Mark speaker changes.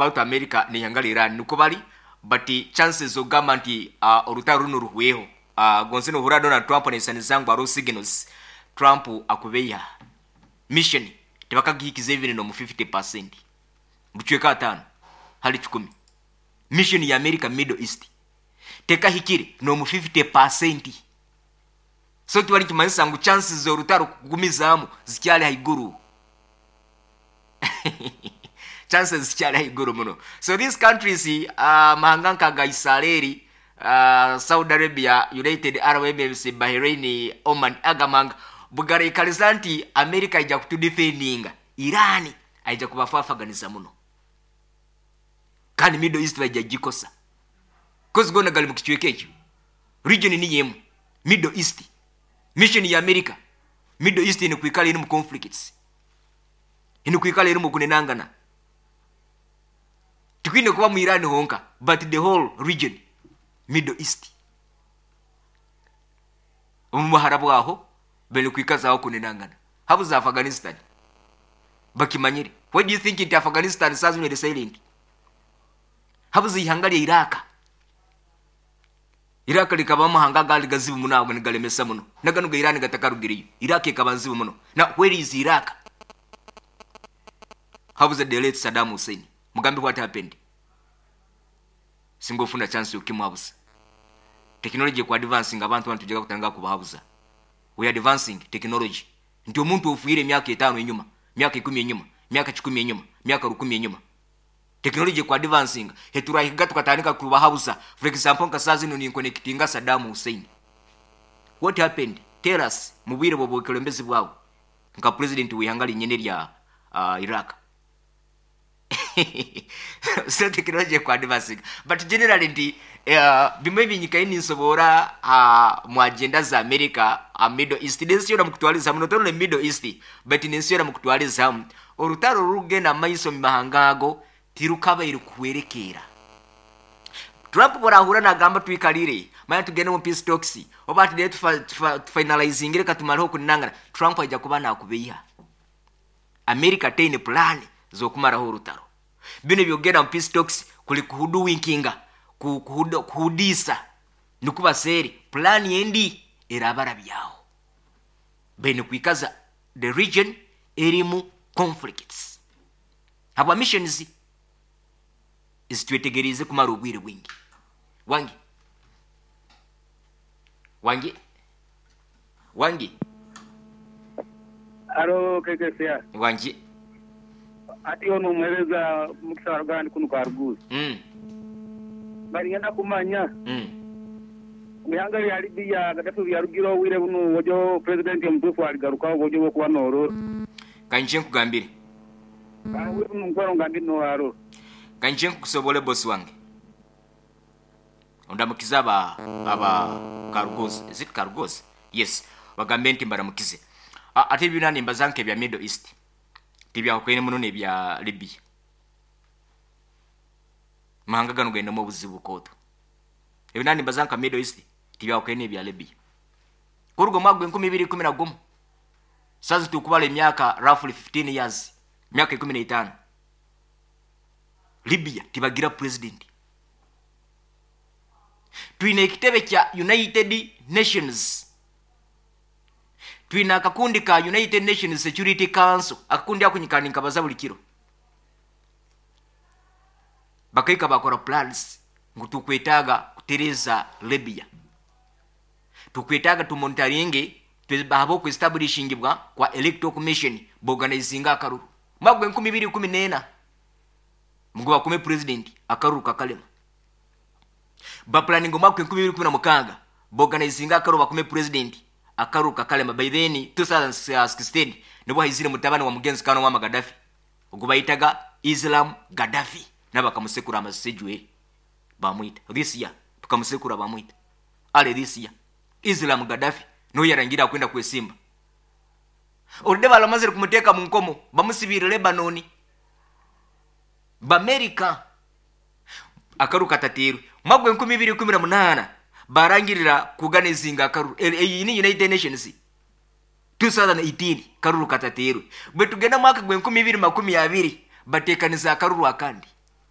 Speaker 1: About America neihanga rya Iran nikwo bari but chances zokugamba nti orutaro runu ruhweho gonze nohurira Donald Trump nayesaniza ngu hariho signals Trump akubeiha mission tibakagihikize even nomu 50% bucweka atano hali kikumi mission ya America middle east tekahikire nomu 50% so kiba nikimanyisa ngu chances zorutaro kugumizamu zikyari haiguru. Chances zikyari ahaiguru muno. So these countries, amahanga nka aga Isareri, Saudi Arabia, United Arab Emirates, Bahrain, Oman, aga amahanga bugaraikariza nti America aija kutudefendinga, Iran aija kubafafaganiza muno. Kandi Middle East baija kugikosa. Coz goona gari mukicweka ekyo. Region niyo emwe, Middle East. Mission ya America, Middle East eine kwikara erimu conflicts. Eine kwikara erimu okunenangana. Tikwine kuba mu Iran honka but the whole region, Middle East. Omu buhara bwaho baine kwikazaho okunenangana. Habuza Afghanistan bakimanyire. Why do you think nti Afghanistan saaha zinu eri silent? Habuza eihanga rya Iraq. Iraq rikaba amahanga agandi gazibu muno ago nigaremesa muno. Na ganu ga Iran gatakarugireyo. Iraq ekaba nzibu muno. Now where is Iraq? Habuza the late Saddam Hussein. Mugambe what happened. Singa ofuna chance yokimuhabuza. Technology eku advancing abantu banu tujega kutandika kubahabuza. We are advancing technology. Nti omuntu ofwire emyaka etano enyuma, myaka ikumi enyuma, myaka kikumi enyuma, myaka rukumi enyuma. Technology ku advancinga heturahiga tukatandika kubahabuza for example nka saaha zinu ninkonekitinga Saddam Hussein what happened tell us mubwire bwobwekulembezi bwawe nka president weihanga rinyene erya Iraq so technology eku advancinga but generally nti bimwe ebinyikayo ninsoboora mu agenda za America Middle East nensi yoona mukutwariza hamwe not only Middle East but nensi yoona mukutwariza hamwe. Orutaro orurikugenda omu maiso omu mahanga ago tirukabaire kuhwerekeera. Trump ku oraahuurira naagamba twikarire, manya tugende omu peace talks, oba hati reero tufinalizinge reka tumareho okunangana, Trump aija kuba naakubeiha. America teine pulaani z'okumaraho orutaro. Binu eby'okugenda omu peace talks kuri kuhuduwinkinga, kuhudiisa, nikwo baseere pulaani endi eraabarabyaho. Baine kwikaza the region erimu conflicts habwa missions ezitwetegeriize kumara obwire bwingi. Wangi? Wangi? Wangi?
Speaker 2: Haro KKCR.
Speaker 1: Wangi?
Speaker 2: Hati onu omuhereza Mukisa wa Ruganda kunu Karuguuzi. Mba niinyenda kumanya omu ihanga rya Libya Gaddafi obu yarugire obwire bunu ojo purezidenti omutuufu aligarukaho obu ojo obw'okuba noorora.
Speaker 1: Ka nyije nkugambire.
Speaker 2: Obwire bunu nkwero nga ndi noarora.
Speaker 1: Ka nyije nkukusobore boss wange. Ondamukize aba aba Karugozi. Is it Karugozi? Yes. Bagambe nti mbaramukize. Ate ebi byona nimbaza nk'ebya Middle East. Tibyahukene muno n'ebya Libya. Amahanga ganu gainemu obuzibu bukooto. Ebi naaba nimbaza nka Middle East tibyahukene n'ebya Libya. Kuruga omwaka gw'enkumi ibiri ikumi na gumwe, saaha ezi turikubara emyaka roughly 15 years, emyaka 15, Libya tibagira president. Twine ekitebe kya United Nations, twine akakundi ka United Nations Security Council, akakundi ako nyikara ninkabaza buri kiro. Bakahika bakora plans ngu tukwetaaga kutereeza Libya. Tukwetaaga tumonitaringe ahabw'oku establishingibwa kwa Electoral Commission boganizinge akaruru. Omwaka gwa 2014 ngu bakume president akaruru kakarema. Bapulaninga omwaka gwa 2016 boganizinge akaruru bakume president akaruru kakarema. By then 2016 nibwo haizire mutabani wa mugenzi kandi Muammar Gaddafi ogu bayetaga Islam Gaddafi nawe bakamusekura amasisi ejweri bamwita. This year bakamusekura bamwita. Early this year Islam Gaddafi niwe yarangire akwenda kwesimba. Already baramazire kumuteeka mu nkomo bamusibiire Lebanon. Bamerica akaruru katateirwe. Omwaka gwa 2018 barangirira kuganizinga akaruru. Eyi ni United Nations 2018 karuru katateirwe. Bwetugenda omwaka gwa 2020 bateekaniza akaruru akandi.